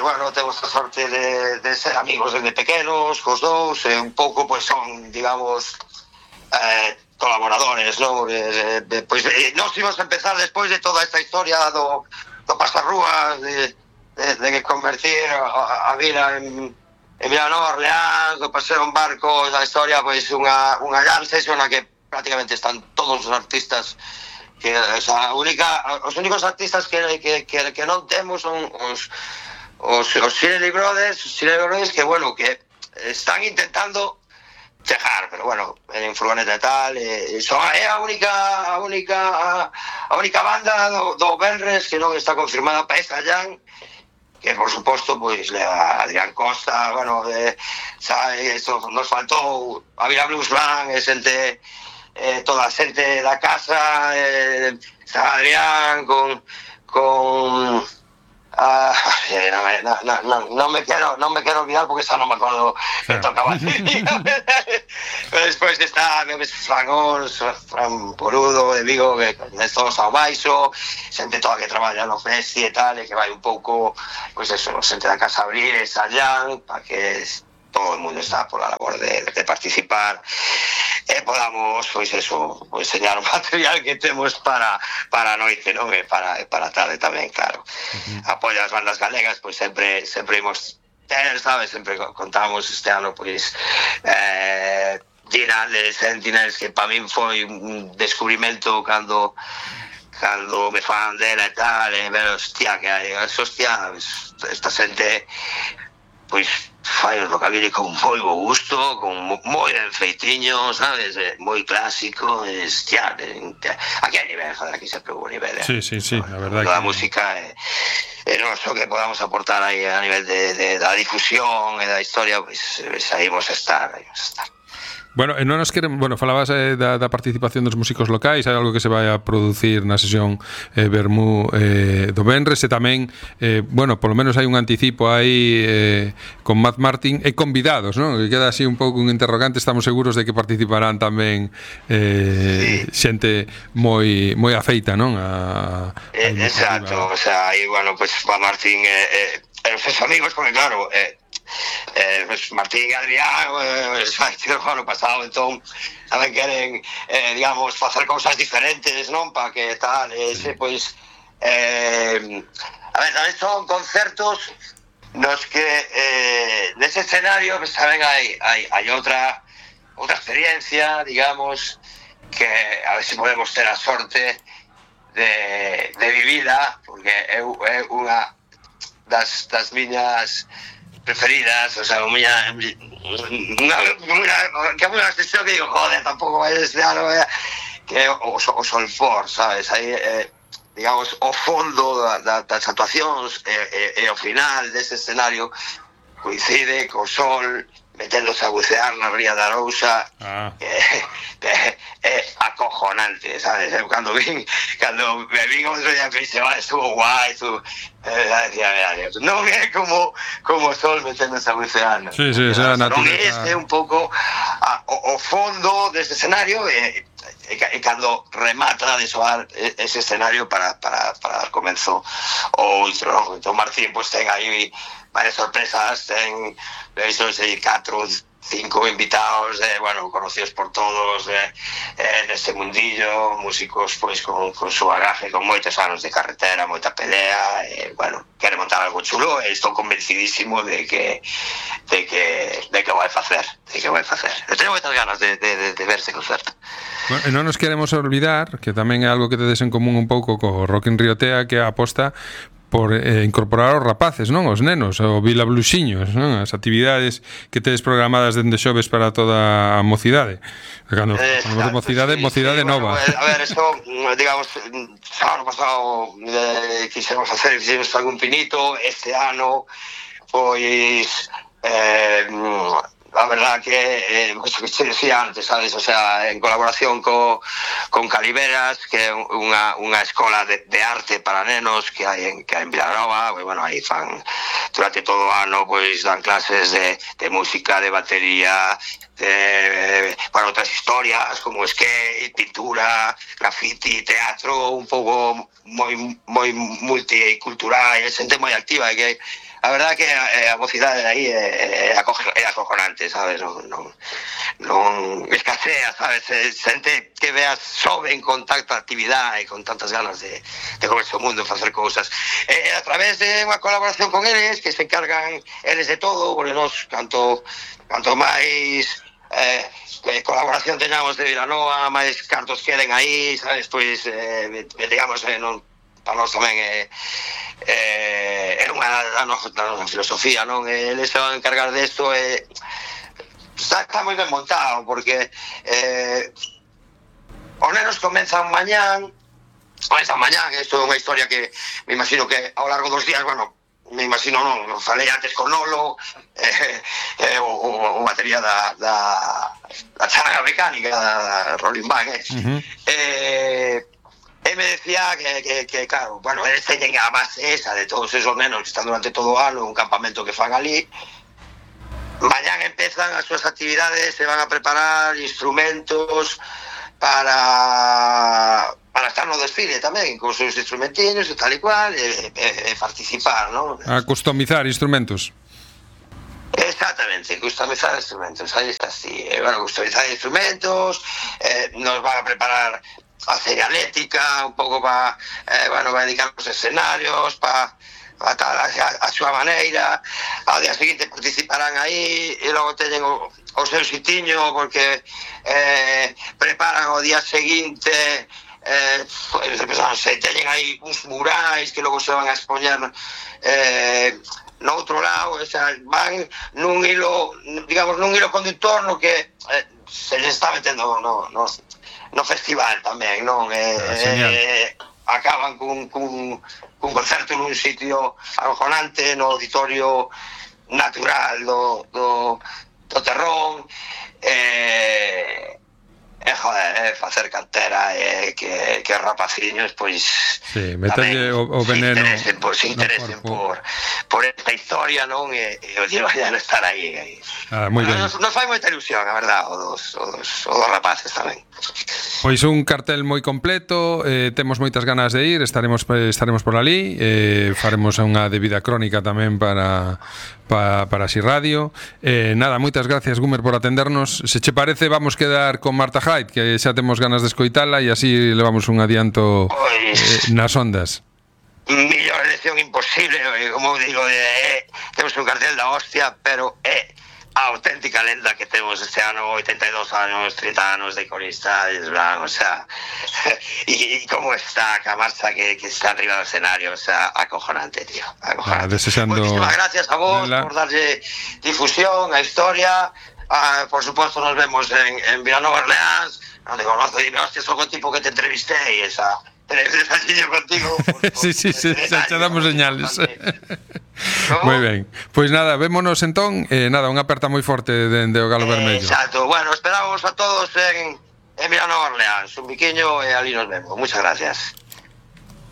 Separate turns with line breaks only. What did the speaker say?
bueno, temos a sorte de ser amigos desde pequenos, cos dous, e un pouco, pois, son, digamos, colaboradores, non? Pois, nós íbamos a empezar despois de toda esta historia do Pasarrúas, de convertir a vila en Vilanova, Orleans, do paseo en barco, a historia, pois, unha gran sesión na que prácticamente están todos os artistas que, o sea, os únicos artistas que non temos son os Shirley Brothers que, bueno, que están intentando chegar, pero, bueno, en furgoneta e tal, é a única banda do Benres que non está confirmada para esta Jan, que, por suposto, pois, leva Adrián Costa, bueno, sabe, eso nos faltou a Vila Blues Band, xente, toda a xente da casa, Adrián con non me quero olvidar porque xa non me acordo que tocaba pero despois está Fran Porudo de Vigo, que todos ao baixo, xente toda que traballa no Festi e tal, e que vai un pouco, pois eso, xente da casa abrir esa Jan para que todo o mundo está por a labor de participar e podamos, pois eso, enseñar o material que temos para a noite, non? E para a tarde tamén, claro. Apoio as bandas galegas, pois sempre imos ter, sabes? Sempre contamos este ano, pois, Dina de Sentinels, que para min foi un descubrimento cando me fan dela e tal, e ver, hostia, que hai, hostia, esta xente, pois, fai un rockabilly con moi bo gusto, con moi ben feitiño, sabes, moi clásico, hostia, aquí hai nivel, joder, aquí sempre hubo nivel,
Sí, la verdad
que... Da música, non só que podamos aportar aí a nivel da difusión e da historia, pois aí vamos a estar.
Bueno, non nos queremos, falabas da participación dos músicos locais, hai algo que se vai a producir na sesión Vermú do Benres, e tamén, polo menos hai un anticipo aí con Matt Martin e convidados, non? Que queda así un pouco un interrogante, estamos seguros de que participarán tamén xente moi afeita, non?
Exacto, o sea, aí, bueno, pues Matt Martin e os seus amigos, porque claro, Martín e Adrián o ano pasado, entón tamén queren, digamos, facer cousas diferentes, non? Para que tal, pois, a ver, tamén son concertos nos que nese escenario, pues, tamén hai outra experiencia, digamos, que a ver se podemos ter a sorte de vivila, porque é unha das miñas preferidas, o sea, que é unha sesión que digo, joder, tampouco vai este ano, que é o Solfor, sabes, aí, digamos, o fondo das actuacións e o final dese escenario coincide co sol meténdose a bucear na ría da Arousa, é acojonante, sabes? Cando me vin outro día que dice, estuvo guai, non é como o sol meténdose a bucear, non?
Sí, esa
naturaleza. Non é un pouco o fondo deste escenario, e cando remata de soar ese escenario para dar comenzo o outro, non? Entón Martín, pois, ten aí varias sorpresas, ten 4-5 invitados, conocidos por todos, neste mundillo, músicos, pois, con su bagaje, con moitos anos de carretera, moita pelea, quere montar algo chulo, e estou convencidísimo de que vai facer, Teño moitas ganas de ver ese concerto.
Bueno, e non nos queremos olvidar que tamén é algo que tedes en común un pouco co Rock in Rio Tea, que é a aposta por incorporar os rapaces, non? Os nenos, o Vila Bluxiños, non? As actividades que tedes programadas dende xoves para toda a mocidade. Cando mocidade nova.
A ver, eso, digamos, ano pasado quixemos algún pinito, este ano, pois, a verdad que, eso que te decía antes, sabes, o sea, en colaboración con Caliveras, que é unha escola de arte para nenos que hai en Vilanova, aí fan durante todo o ano, pois dan clases de música, de batería, para outras historias como skate, pintura, graffiti, teatro, un pouco moi multicultural, e xente moi activa, que a verdad que a mocidade de aí é acojonante, sabes? Non escasea, sabes? Xente que veas soben con tanta actividade e con tantas ganas de comerse o mundo e facer cousas. A través de unha colaboración con eles, que se encargan eles de todo, porque nos, canto máis colaboración teñamos de Vilanova, máis cartos queden aí, sabes? Pois, digamos, non, para nós tamén é unha da nosa filosofía, non? Eles se van a encargar desto e está moi ben montado, porque os nenos comenzan mañán, isto é unha historia que me imagino que ao largo dos días, bueno, me imagino, non falei antes con Nolo, o batería da charanga mecánica, da Rolling Band, e me decía que claro, bueno, eles teñen a base esa de todos esos nenos que están durante todo o ano, un campamento que fan ali. Mañán empezan as súas actividades, se van a preparar instrumentos para estar no desfile tamén, con os seus instrumentinos e tal e cual, e participar, non?
A customizar instrumentos.
Exactamente, customizar instrumentos, aí está, sí. Bueno, customizar instrumentos, nos van a preparar a señalética, un pouco para, bueno, para dedicar os escenarios, para tal a súa maneira. Ao día seguinte participarán aí e logo teñen o seu sitiño, porque preparan o día seguinte, se teñen aí uns murais que logo se van a expoñer no outro lado, o sea, van nun hilo, digamos, nun hilo conductor no que se les está metendo no festival tamén, non? Acaban cun concerto nun sitio acojonante, no auditorio natural do Terrón, joder, facer cantera, que rapaciños, pois
meterlle o veneno,
se interesen por esta historia, non? E vayan a estar aí.
Moi ben.
Nos fai moita ilusión, a verdad, os dos rapaces tamén.
Pois un cartel moi completo, temos moitas ganas de ir, estaremos por ali, faremos unha debida crónica tamén para Así Radio. Nada, moitas gracias, Gumer, por atendernos. Se che parece, vamos quedar con Marta Hyde, que xa temos ganas de escoitala e así levamos un adianto nas ondas.
Millor elección imposible, como digo, temos un cartel da hostia, pero a auténtica lenda que temos este ano, 82 anos, 30 anos de corista, o sea, y como está, que a marcha que está arriba do escenario, o sea, acojonante, tío, acojonante. Muchísimas gracias a vos por darlle difusión a historia. Por supuesto nos vemos en Vilanova Orleans, donde conozco y hostia, soy el tipo que te entrevisté y esa telegrafía contigo.
Sí, xa damos señales. Moi ben. Pois nada, vémonos entón, nada, unha aperta moi forte dende o Galo Vermello.
Exacto. Bueno, esperamos a todos en Vilanova Orleans, un biquiño e ali nos vemos. Muchas gracias.